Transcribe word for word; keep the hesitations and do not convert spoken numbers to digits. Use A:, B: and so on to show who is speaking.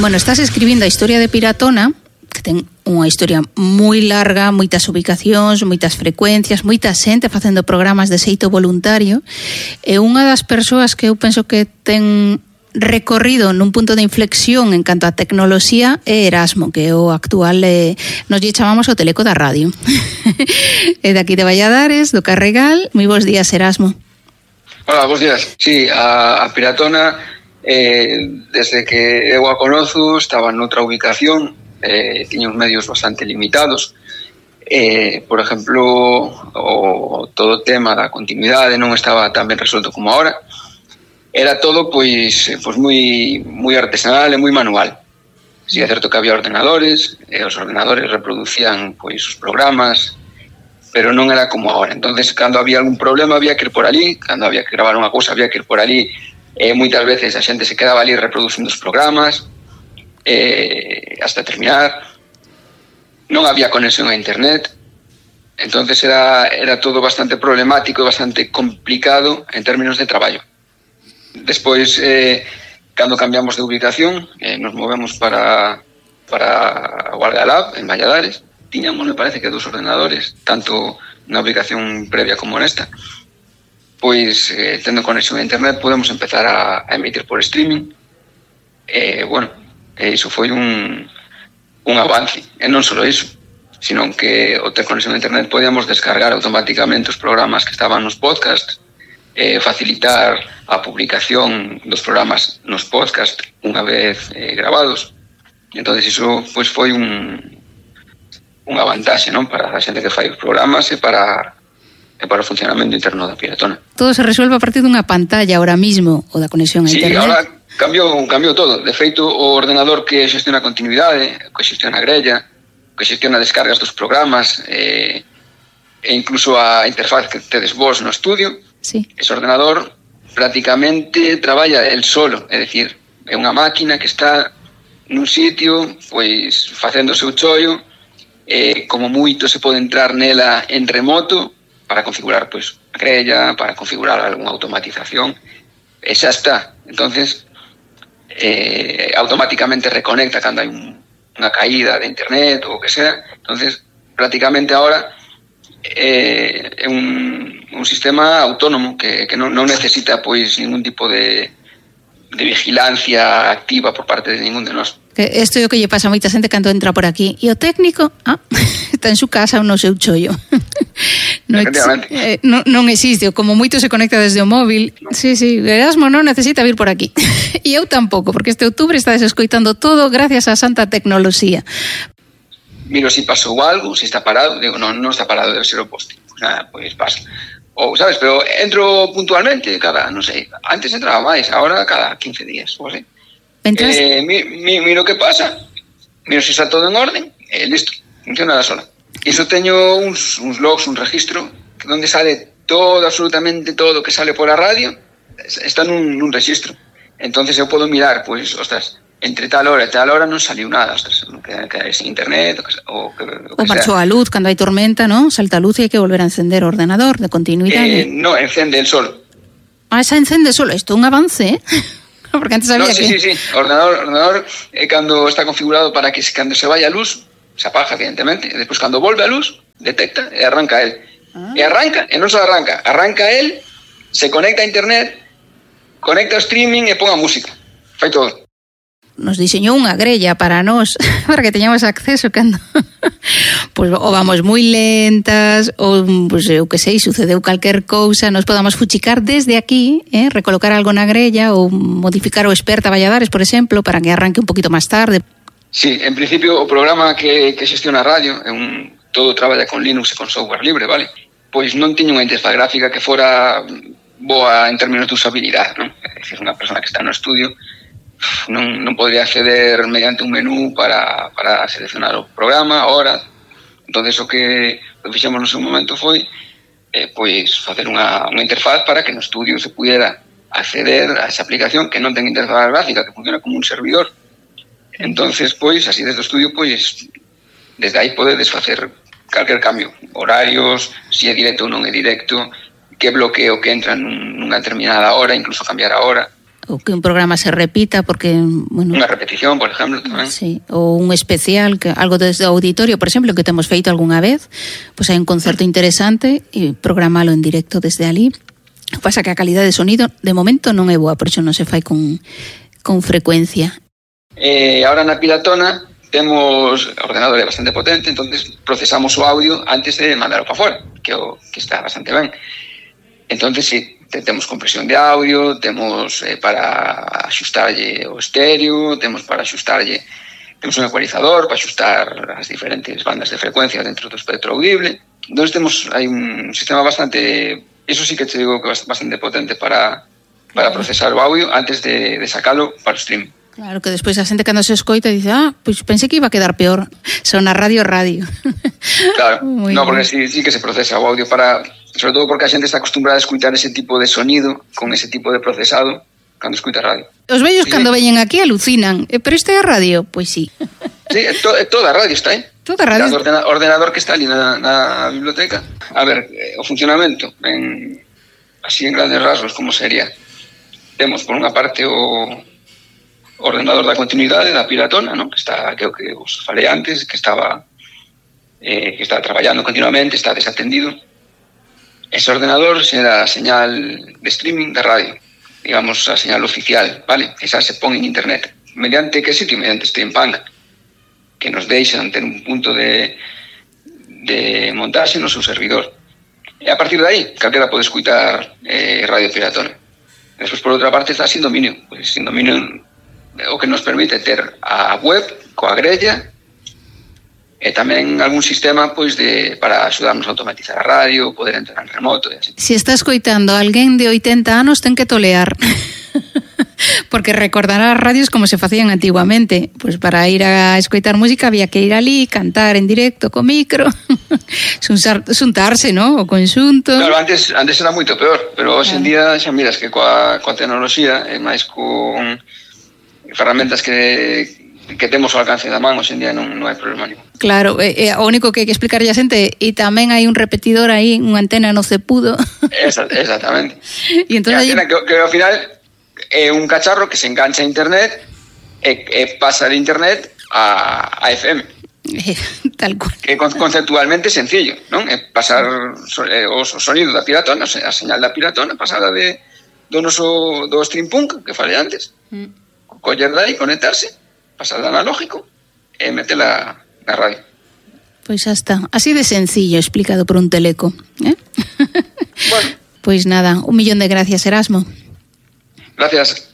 A: Bueno, estás escribindo a historia de Piratona, que ten unha historia moi larga, moitas ubicacións, moitas frecuencias, moita xente facendo programas de xeito voluntario, e unha das persoas que eu penso que ten recorrido nun punto de inflexión en canto a tecnoloxía é Erasmo, que é o actual, eh, nos lle chamamos o teleco da radio. É daqui de Valladares, do Carregal. Moi bons días, Erasmo.
B: Hola, bons días. Sí, a, a Piratona, eh, desde que eu a conozo, estaba noutra ubicación, eh, tiña uns medios bastante limitados. Eh, por exemplo, o, todo o tema da continuidade non estaba tan ben resolto como ahora. Era todo pois, pois moi, moi artesanal e moi manual. Si é certo que había ordenadores, e os ordenadores reproducían pois os programas, pero non era como agora. Entonces, cando había algún problema había que ir por ali, cando había que gravar unha cousa había que ir por ali, e moitas veces a xente se quedaba ali reproducindo os programas eh, hasta terminar. Non había conexión a internet, entonces era, era todo bastante problemático e bastante complicado en términos de traballo. Despois, eh, cando cambiamos de ubicación, eh, nos movemos para, para o Algalab, en Valladares. Tiñamos, me parece que dos ordenadores, tanto na ubicación previa como nesta. Pois, eh, tendo conexión a internet, podemos empezar a, a emitir por streaming. Eh, bueno, eh, iso foi un, un avance. E non só iso, sino que ao ter conexión a internet podíamos descargar automáticamente os programas que estaban nos podcasts, eh, facilitar a publicación dos programas nos podcast unha vez eh, grabados. Entonces iso pois foi un unha vantaxe, non, para a xente que fai os programas e para e para o funcionamento interno da Piratona.
A: Todo se resuelve a partir dunha pantalla ahora mismo, o da conexión a
B: sí,
A: internet.
B: Sí, ahora cambiou, cambiou todo. De feito, o ordenador que xestiona a continuidade, que xestiona a grella, que xestiona descargas dos programas, eh, e incluso a interfaz que tedes vos no estudio,
A: sí. Ese
B: ordenador prácticamente traballa el solo, é dicir, é unha máquina que está nun sitio, pois, facendo o seu chollo, eh, como moito se pode entrar nela en remoto para configurar, pois, a grella, para configurar algunha automatización, e xa está. Entonces, eh, automáticamente reconecta cando hai un, unha caída de internet ou o que sea. Entonces, prácticamente ahora eh, é un un sistema autónomo que, que non, non necesita pois ningún tipo de, de vigilancia activa por parte de ningún de nós.
A: Isto é o que lle pasa a moita xente cando entra por aquí. E o técnico, ah, está en su casa ou no seu chollo. Non, eh, non, non existe, como moito se conecta desde o móvil. Sí, sí, Erasmo non necesita vir por aquí. E eu tampouco, porque este outubro está desescoitando todo gracias á santa tecnoloxía.
B: Miro se si pasou algo, se si está parado, digo, non, non está parado, debe ser o poste. Pues nada, pois pasa. Ou, sabes, pero entro puntualmente cada, non sei, antes entraba máis, agora cada quince días, ou así.
A: Entras...
B: Eh, mi, mi, miro que pasa, miro se está todo en orden, e eh, listo, funciona da sola. Iso teño uns, uns logs, un registro, onde sale todo, absolutamente todo que sale pola radio, está nun, nun registro. Entonces eu podo mirar, pois, ostras, entre tal hora e tal hora non saliu nada, ostras, que, que sin internet, o que, o que, o que
A: ou marchou a luz, cando hai tormenta, non? Salta a luz e hai que volver a encender o ordenador de continuidade.
B: Eh, non, encende el solo.
A: Ah, esa encende solo, isto é un avance, eh? Porque antes había
B: no, sí,
A: que...
B: Sí, sí, sí, o ordenador, ordenador eh, cando está configurado para que cando se vaya a luz, se apaga, evidentemente, e despois cando volve a luz, detecta e arranca el. Ah. E arranca, e non só arranca, arranca el, se conecta a internet, conecta o streaming e pon a música. Fai todo.
A: Nos diseñou unha grella para nós, para que teñamos acceso cando pois, ou vamos moi lentas, ou, pois, eu que sei, sucedeu calquer cousa, nos podamos fuchicar desde aquí, eh, recolocar algo na grella, ou modificar o Experta Valladares, por exemplo, para que arranque un poquito máis tarde.
B: Sí, en principio, o programa que, que xestiona a radio, é un, todo traballa con Linux e con software libre, vale? Pois non tiña unha interfaz gráfica que fora boa en términos de usabilidade, non? É dicir, unha persona que está no estudio non, non podría acceder mediante un menú para, para seleccionar o programa, a hora. Entonces o que, o que fixemos no seu momento foi eh, pois facer unha, unha interfaz para que no estudio se pudiera acceder a esa aplicación que non ten interfaz gráfica, que funciona como un servidor. Entonces, pois, así desde o estudio, pois, desde aí podedes facer calquer cambio, horarios, se é directo ou non é directo, que bloqueo que entra nunha determinada hora, incluso cambiar a hora.
A: ou que un programa se repita porque, bueno,
B: unha repetición, por exemplo, tamén.
A: Sí, ou un especial, que algo desde o auditorio, por exemplo, que temos feito algunha vez, pois hai un concerto interesante e programalo en directo desde ali. Pasa que a calidade de sonido de momento non é boa, por iso non se fai con, con frecuencia.
B: Eh, ahora na Piratona temos ordenador é bastante potente, entonces procesamos o audio antes de mandarlo para fora, que, o, que está bastante ben. Entonces, sí, temos compresión de audio, temos eh, para axustarlle o estéreo, temos para axustarlle, temos un ecualizador para axustar as diferentes bandas de frecuencia dentro do espectro audible. Entón, temos, hai un sistema bastante, eso sí que te digo que é bastante potente para, para procesar o audio antes de, de sacalo para o stream.
A: Claro, que despois a xente cando se escoita dice, ah, pois pensei que iba a quedar peor. Son a radio radio.
B: Claro, no, porque sí, sí que se procesa o audio para, sobre todo porque a xente está acostumbrada a escutar ese tipo de sonido con ese tipo de procesado cando escuta radio.
A: Os vellos
B: sí,
A: cando
B: sí.
A: veñen aquí alucinan, eh, pero isto é a radio? Pois sí.
B: Sí, to, toda a radio está aí.
A: Toda a radio.
B: O ordena, ordenador que está ali na, na biblioteca. A ver, eh, o funcionamento, en, así en grandes rasgos, como sería? Temos, por unha parte, o ordenador da continuidade da Piratona, ¿no? Que está, que o que os falei antes, que estaba eh, que está traballando continuamente, está desatendido. Ese ordenador será a señal de streaming da radio, digamos, a señal oficial, vale? Esa se pon en internet. Mediante que sitio? Mediante Streampunk, que nos deixan ter un punto de, de montaxe no seu servidor. E a partir de aí, calquera pode escutar eh, Radio Piratona. Despois, por outra parte, está sin dominio. Pues, sin dominio o que nos permite ter a web coa grella e tamén algún sistema pois de para axudarnos a automatizar a radio, poder entrar en remoto e así.
A: Se está escoitando alguén de oitenta anos, ten que tolear. Porque recordará as radios como se facían antiguamente. Pois para ir a escoitar música había que ir ali, cantar en directo co micro, xuntarse, ¿no? O conxunto.
B: Claro, antes antes era moito peor, pero hoxe en día xa miras que coa, coa tecnoloxía e máis con ferramentas que que temos ao alcance da man, hoxe en día non, non hai problema ningún.
A: Claro, é, é o único que hai que explicarlle a xente, e tamén hai un repetidor aí, unha antena no cepudo.
B: Esa, exactamente.
A: E entón
B: que, que, que ao final é un cacharro que se engancha a internet e, e pasa de internet a, a F M.
A: Tal cual.
B: Que conceptualmente é sencillo, non? É pasar o sonido da Piratona, a señal da Piratona, pasada de do noso do Streampunk que falei antes. Mm. Coller dai, conectarse, pasar de analógico e metela na radio.
A: Pois xa está, así de sencillo explicado por un teleco, eh?
B: Bueno.
A: Pois nada, un millón de gracias, Erasmo.
B: Gracias.